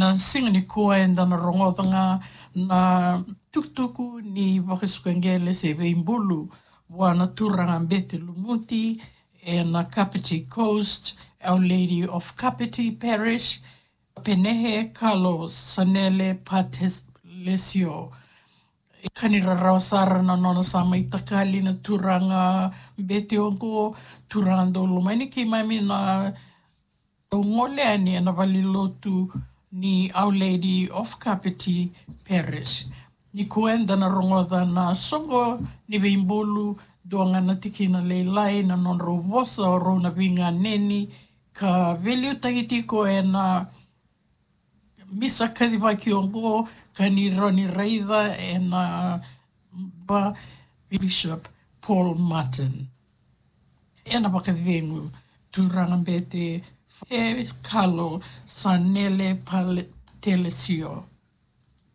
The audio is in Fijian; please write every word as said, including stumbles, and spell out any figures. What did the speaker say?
Na siga nikua eda na rogoca ga na tukutuku ni vakasuka qele se veibulu vua na turaga Bete Lumuti ena Kapiti Coast, Our Lady of Kapiti Parish, Penehe Kalo Sanele Patelesio. Ka ni rarawa sara na nona sa mai takali na turaga Bete oqo, turaga dau lomani keimami na dau gole yani ena valenilotu ni Our Lady of Kapiti Parish. Nikua eda na rogoca na soqo ni veibulu, dua ga na tikina lailai na nodrau vosa o rau na veiganeni, ka veiliutaki tiko ena misa kacivaki oqo ka ni rawa ni raica ena ba Bishop Paul Martin. Ena vakacegu, turaga Bete e Kalo Sanele Patelesio.